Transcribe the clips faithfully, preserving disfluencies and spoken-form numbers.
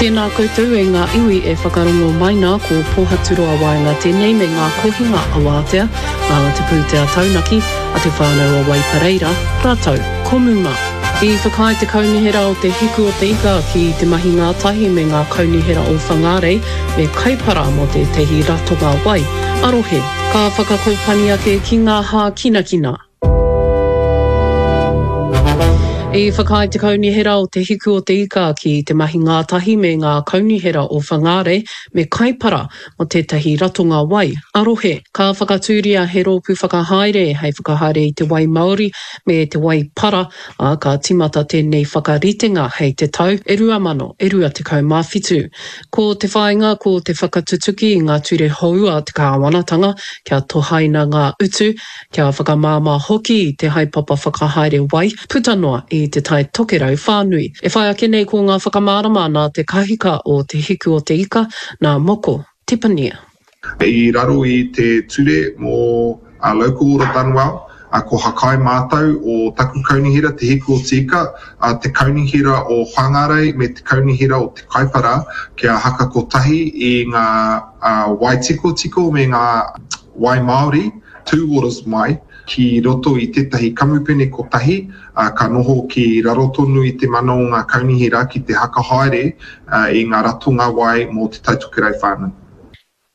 Tēnā koutou e ngā iwi e whakarongo mai nā, ko Pōhaturoa Waenga tēnei me ngā kohinga awātea a Te Pūtea Taunaki a Te Whānau o Waipareira rātou ko Muma. I whakaae te Kaunihera o Te Hiku o Te Ika ki te mahi ngātahi me ngā kaunihera o Whangārei me Kaipara mō tētahi ratonga wai a-rohe. Ka whakakōpani ake ki ngā hākinakina. I whakaae te Kaunihera o Te Hiku o Te Ika ki te mahi ngātahi me ngā kaunihera o Whangārei me Kaipara mō tētahi ratonga wai a-rohe. Ka whakatūria he rōpū whakahaere hei whakahaere i te wai māori me te wai para, ā, ka tīmata tēnei whakaritenga hei te tau e rua mano e rua tekau mā whitu. Ko te whāinga ko te whakatutuki i ngā ture hou a te kāwanatanga kia tohaina ngā utu, kia whakamāmā hoki i te haepapa whakahaere wai puta noa i Te Tai Tokerau whānui. E whai ake nei ko ngā whakamārama nā te kahika o Te Hiku o Te Ika, nā Moko Tepania. I raro i te ture mō Local Order Done Well, ko Hakai mātou o taku kaunihera Te Hiku o Te Ika, te kaunihera o Whangarei me te kaunihera o Te Kaipara kia haka kotahi i ngā wai tikotiko me ngā wai Māori, two waters mai, ki roto i tētahi kamupene kotahi, ka noho ki raro tonu i te mana o ngā kaunihera ki te haka haere i ngā ratonga wai mō Te Tai Tokerau whānui.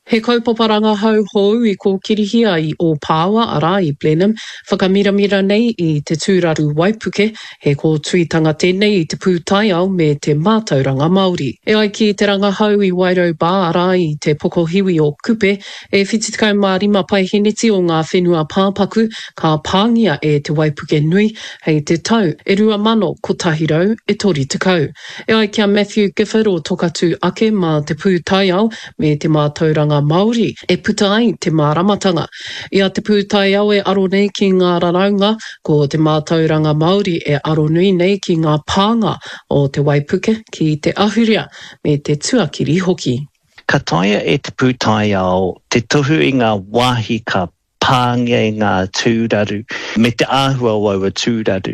He kaupapa rangahau hou i kōkirihia i Ōpāwa, arā, i Blenheim, whakamiramira nei i te tūraru waipuke, he kōtuitanga tēnei i te pūtaiao me te mātauranga Māori. E ai ki te rangahau i Wairau Bar, arā, i te pokohiwi o Kupe, e whitu tekau mā rima paeheneti o ngā whenua pāpaku ka pāngia e te waipuke nui hei te tau e rua mano kotahi rau e toru tekau. E ai ki a Matthew Gifford o Tokatū Ake mā te pūtaiao me te mātauranga Māori e puta ai te māramatanga. I a te pūtaiao e aro nei ki ngā raraunga, ko te mātauranga Māori e aro nui nei ki ngā pānga o te waipuke ki te ahurea me te tuakiri hoki. Ka taea e te pūtaiao te tohu i ngā wāhi ka pāngia i ngā tūraru me te āhua o aua tūraru.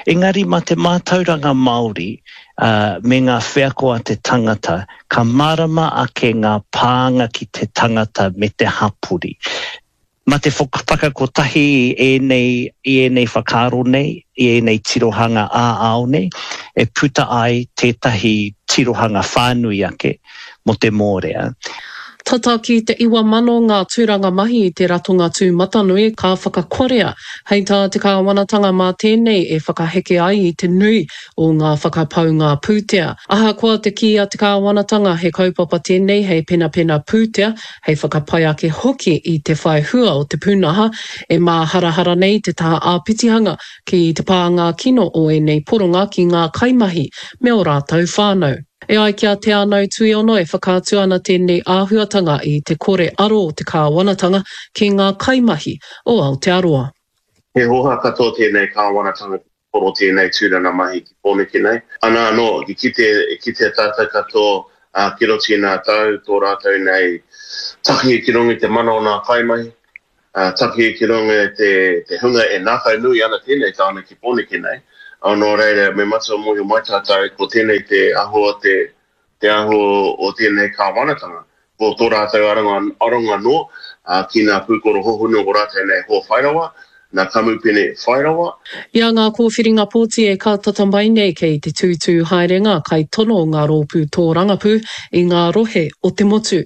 Engari mā te mātauranga Māori me ngā wheako a te tangata, ka mārama ake ngā pānga ki te tangata me te hapori. Mā te whakakotahi i ēnei, i ēnei whakaaro nei, i ēnei tirohanga ā-ao nei, e puta ai tētahi tirohanga whānui ake mō te mōrea. Tata ki te iwa mano ngā tūranga mahi i te ratonga tūmatanui ka whakakorea. Hei tā te kāwanatanga mā tēnei e whakaheke ai i te nui o ngā whakapaunga pūtea. Ahakoa te kī a te kāwanatanga he kaupapa tēnei hei penapena pūtea, hei whakapai ake hoki i te whai hua o te pūnaha, e māharahara nei te taha āpitihanga ki te pānga kino o ēnei poronga ki ngā kaimahi me ō rātou whānau. E ai ki a Te Anau Tuiono e whakaatu ana tēnei āhuatanga i te kore aro o te kāwanatanga ki ngā kaimahi o Aotearoa. He hōhā katoa tēnei kāwanatanga ki te poro tēnei tūranga mahi ki Pōneke nei. Ana anō, i kite, i kitea tātou katoa ki roto i ngā tau, tō rātou nei takihi ki runga i te mana o ngā kaimahi, Takihi ki runga i te hunga e ngākau nui ana tēnei tāone ki Pōneke nei. Nō reira, me matua mōhio mai tātou ko tēnei te aho o te, te aho o tēnei kāwanatanga. Ko tō rātou aronga, aronga noa ki ngā pūkoro hohonu o rātou nei hoa whairawa, ngā kamupene whairawa. I a ngā kōwhiringa pōti e kātata mai nei kei te tūtū haere ngā kaitono o ngā rōpū tōrangapū i ngā rohe o te motu.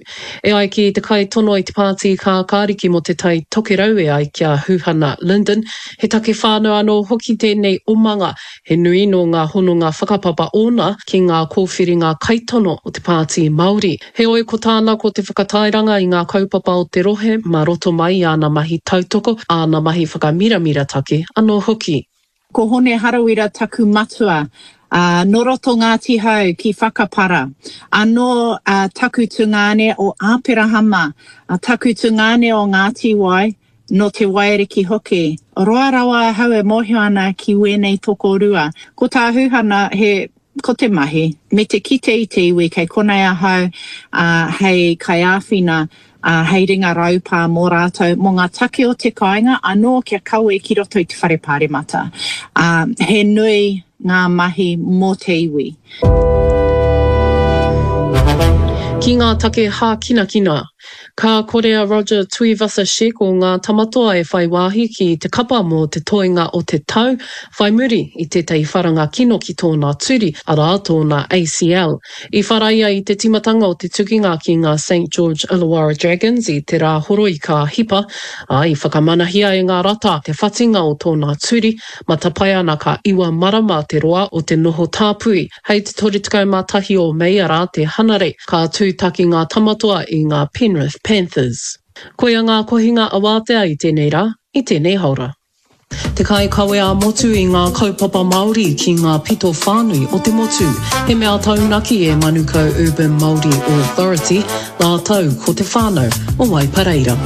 E ai ki te kaitono i te Pāti Kākāriki mō Te Tai Tokerau e ai ki a Huhana Lyndon, he take whānau anō hoki tēnei omanga, he nui nō ngā hononga whakapapa ōna ki ngā kōwhiringa kaitono o te Pāti Māori. Heoi ko tāna ko te whakatairanga i ngā kaupapa o te rohe mā roto mai i āna mahi tautoko, āna mahi whakamiramira take anō hoki. Ko Hone Harawira taku matua, ā, nō roto Ngāti Hau ki Whakapara. Anō taku tungāne o Āperahama, taku tungāne o Ngāti Wai, nō Te Waiariki hoki. Roa rawa ahau e mōhio ana ki wēnei tokorua. Ko tā Huhana, he, ko te mahi, me te kite i te iwi kei konei ahau, ā, hei kaiāwhina, ā, hei ringa raupā mō rātou, mō ngā take o te kāinga anō kia kawe ki roto i te whare pāremata. Ā, he nui ngā mahi mō te iwi. Ki ngā take hākinakina. Ka kore a Roger Tuivasa-Sheck o Ngā Tamatoa e whai wāhi ki te kapa mō te toenga o te tau, whai muri i tētahi wharanga kino ki tōna turi, arā, tōna ACL. I whara ia i te tīmatanga o te tukinga ki ngā Saint George Illawarra Dragons i te Rāhoroi ka hipa, ā, i whakamanahia e ngā rata te whatinga o tōna turi, matapae ana ka iwa marama te roa o te noho tāpui. Hei te toru tekau mā tahi o Mei, arā, te Hanarei, ka tūtaki ngā Tamatoa i ngā Penrith Panthers. Koia ngā kohinga awātea i tēnei rā, i tēnei haora. Te kaikawe ā-motu i ngā kaupapa Māori ki ngā pito whānui o te motu. He mea taunaki e Manukau Urban Māori Authority rātou ko te whānau o Waipareira.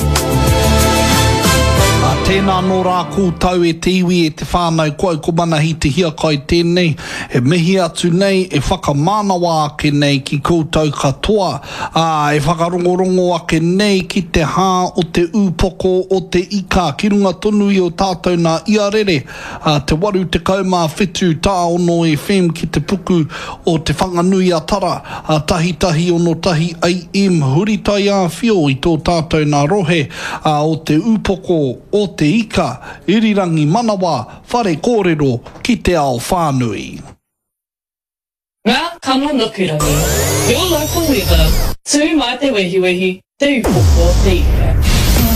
Ā, tēnā anō rā koutou e te iwi, e te whānau, ko au ko Manahi Te Hiakai tēnei, e mihi atu nei, e whakamānawa ake nei ki koutou katoa, ā, e whakarongorongo ake nei ki te hā o te ūpoko o te ika, ki runga tonu i o tātou nā iarere, ā, te waru tekau mā whitu tāono FM ki te puku o Te Whanganui-a-Tara, ā, tahi tahi ono tahi AM, huri taiāwhio i tō tātou nā rohe, ā, o te ūpoko o te ika, irirangi manawa, whare kōrero ki te ao whānui. Ngā kano nukurangi, Your local weather, tū mai te wehiwehi, Te Upoko o te Ika.